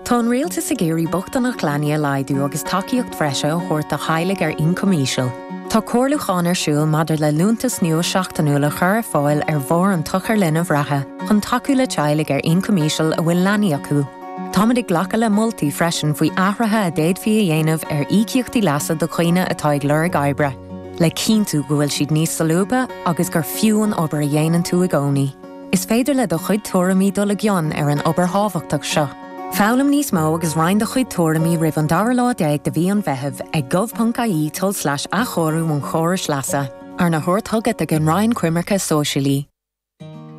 Tá an Rialtas ag iarraidh bochtaineacht leanaí a laghdú agus tacaíocht bhreise a thabhairt do theaghlaigh ar ioncam íseal. Tá comhairliúchán ar siúl maidir le liúntas nua seachtainiúil a chur ar fáil ar bharr an tsochair linbh reatha chun tacú le teaghlaigh ar ioncam íseal a bhfuil leanaí acu. Táimid ag glacadh le moltaí freisin faoi athruithe a d'fhéadfaí a dhéanamh ar íocaíochtaí leasa do dhaoine atá ag lorg oibre, le cinntiú go bhfuil siad níos solúbtha agus gur fiú an obair a dhéanann tú i gcónaí. Is féidir le do chuid tuairimí dul i gcion ar an obair thábhachtach seo. Foghlaim níos mó agus roinn do chuid tuairimí roimh an dara lá déag de mhí an Mheithimh ag gov.ie tulslais athchóiriú an chórais leasa, arna thabhairt chugat ag an Roinn Coimirce Sóisialaí.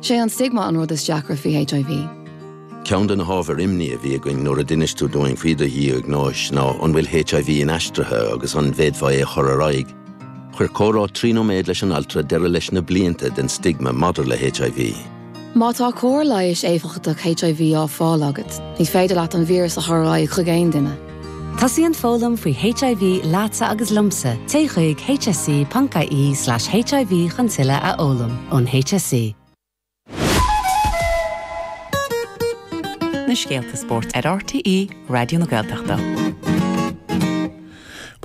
Sé an stigma an rud is deacra faoi HIV. Ceann de na hábhair imní a bhí againn nuair a d'inis tú dúinn faoi do dhiagnóis ná an bhfuil HIV inaistrithe agus an bhféadfá é a chur ar aghaidh. Chuir comhrá 3 nóiméad leis an altra deireadh leis na blianta den stigma maidir le HIV. Má tá cóir leighis éifeachtach HIV á fáil agat, ní féidir leat an víreas a chur ar aghaidh chuig aon duine. Tosaíonn foghlaim faoi HIV leatsa agus liomsa, téigh chuig hse.ie/hiv chun tuilleadh a fhoghlaim ón HSE. Na scéalta spóirt ar RTÉ Raidió na Gaeltachta.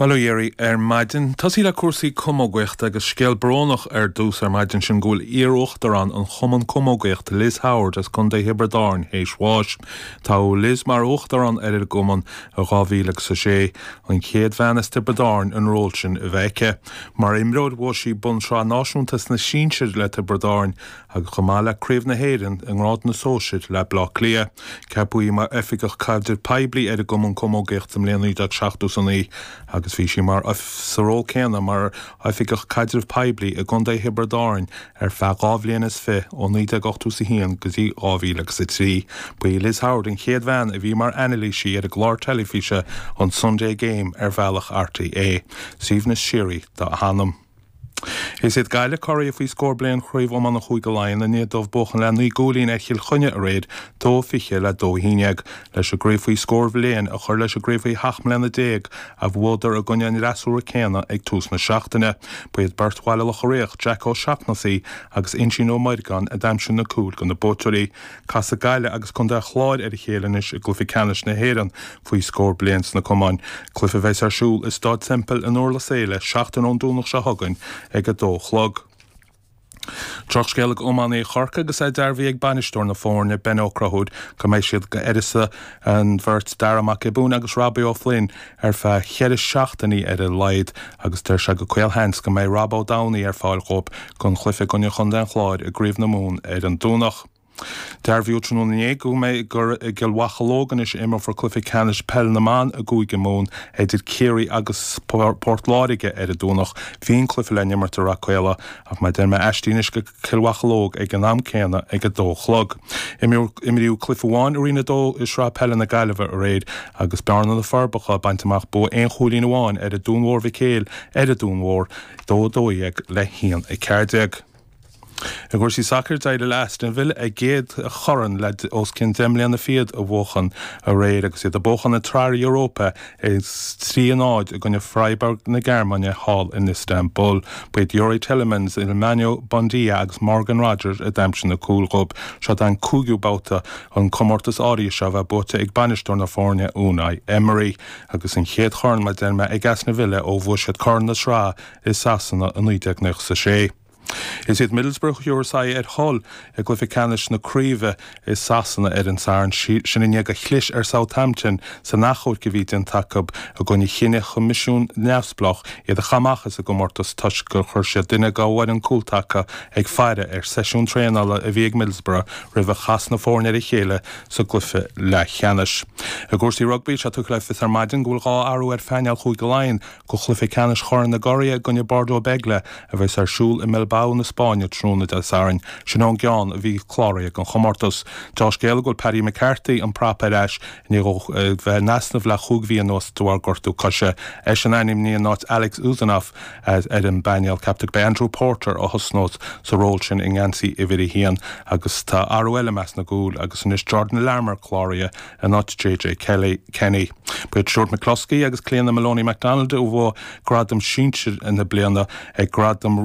Bail ó Dhia oraibh ar maidin. Tosaí le cúrsaí camógaíochta agus scéal brónach ar dtús ar maidin sin go bhfuil iar-uachtarán an Chumann Camógaíochta Liz Howard as Contae Thiobraid Árann théis bháis. Toghadh Liz mar uachtarán ar an gcumann i 2006, an chéad bhean as Tiobraid Árann an ról sin a bheith aici. Mar imreoir bhuaigh sí bonn sraith náisiúnta sna sinsir le Tiobraid Árann agus chomh maith le Craobh na hÉireann i ngrád na sóisir le Baile Átha Cliath. Ceapadh í mar Oifigeach Caidrimh Poiblí ar an gCumann Camógaíochta sa mbliain 1979 agus bhí sí mar sa ról céanna mar Oifigeach Caidrimh Poiblí i gContae Thiobraid Árann ar feadh 2 bhliain is fi ó 1981 go dtí 2003. Ba í Liz Howard an chéad bhean a bhí mar anailísí ar an gclár teilifíse an Sunday Game ar bhealach RTÉ. Suaimhneas síoraí dá hanam. Is iad Gaillimh curaidh faoi scór bliain Chraobh Iomána Chúige Laighean i ndiaidh dóibh buachan le 9 gcúilín ar Chill Chainnigh aréir, 2-20 le 2-11, leis an gcraobh faoi scór bhliain a chur leis an gcraobh faoi sheacht mbliana déag a bhuadar i gcoinne an fhreasúra céanna ag tús na seachtaine. Ba iad beirt Bhaile Locha Riach, Jack O'Shaughnessy agus Uinsíonn Ó Muirgáin a d'aimsigh na cúil do na buaiteoirí. Casfaidh Gaillimh agus Contae an Chláir ar a chéile anois i gcluiche ceannais na hÉireann faoi scór bliain sna camáin, cluiche a bheas ar siúl i Staid Semple in Durlas Éile seachtain ón Domhnach seo chugainn ag a dó a chlog. Drochscéal ag iománaithe Chorcaí agus é dearbhaithe ag bainisteoir na foirne, Ben Ó Conchúir, go mbeidh siad d'uireasa an bheirt Darragh Mac Giobúin agus Robbie O'Flynn ar feadh cheithre seachtainí ar a laghad agus deir sé go caolsheans go mbeidh Rob Ó Domhnaigh ar fáil dhóibh don chluiche i gcoinne Chontae an Chláir i gCraobh na Mumhan ar an Domhnach. Dearbhaíodh tráthnóna inné go mbeidh gur i gCill Mhocheallóg anois a imreofar cluiche ceannais peil na mban i gCúige Mumhan idir Ciarraí agus Port Láirge ar an Domhnach. Bhí an cluiche le n-imirt i Rath Caola ach mar a deir mé aistrithe anois go Cill Mhocheallóg ag an am céanna ag a dó a chlog. Imríodh cluiche amháin i Roinn 2 i Sraith Peile na Gaillimhe aréir agus Bearna na Forbacha ag baint amach bua aon chúilín amháin ar an Dún Mhór Mhic Éil ar an Dún Mhór, 2 12 le 1 14. I gcúrsaí sacair, d'éirigh le Aston Villa a gcéad chorn le os cionn deich mbliana fichead a bhuachan aréir agus iad ag buachan an tSraith Europa 3-0 i gcoinne Freiburg na Gearmáine thall in Istanbul. Ba iad Youri Tielemans, Emiliano Buendia agus Morgan Rogers a d'aimsigh na cúil dhóibh. Seo an cúigiú babhta an comórtas áirithe seo a bheith buaite ag bainisteoir na foirne Unai Emery agus an chéad chorn mar a deir mé ag Aston Villa ó bhuaigh siad corn na sraithe i Sasana i 1996. Is iad Middlesbrough a thabharfas aghaidh ar Hull i gcluiche ceannais na craoibhe i Sasana ar an Satharn, sin i ndiaidh gur chlis ar Southampton san achomharc a bhí déanta acu i gcoinne chinneadh choimisiún neamhspleách iad a chaitheamh amach as an gcomórtas toisc gur chuir siad duine dá bhfoireann cúltaca ag faire ar seisiún traenála a bhí ag Middlesbrough roimh a chas na foirne ar a chéile sa gcluiche leathcheannais. I gcúrsaí rugbaí, tá sé tugtha le fios ar maidin go bhfuil 2 athrú ar phainéal Chúige Laighean do chluiche ceannais Chorn na gCuraithe i gcoinne Bordeaux Bègles a bheas ar siúl i mBilbao na Spáinne tráthnóna Dé Sathairn. Sin ón gceann a bhí cláraithe don chomórtas. Deá-scéala go bhfuil Paddy McCarthy, an prapa, ar ais i ndiaidh dó bheith in easnamh le chúig mhí anuas de bharr gortú coise. Eisean ainmnithe in áit Alex Usanov ar an bpainéal. Ceaptar gurb é Andrew Porter a thosnós sa ról sin i ngeansaí uimhir a haon agus tá athrú eile i measc na gcúl agus anois Jordan Larmour cláraithe in áit JJ Kenny. Ba iad Stuart McCloskey agus Cliodhna Moloney McDonald a bhuaigh gradam sinsir na bliana ag Gradaim.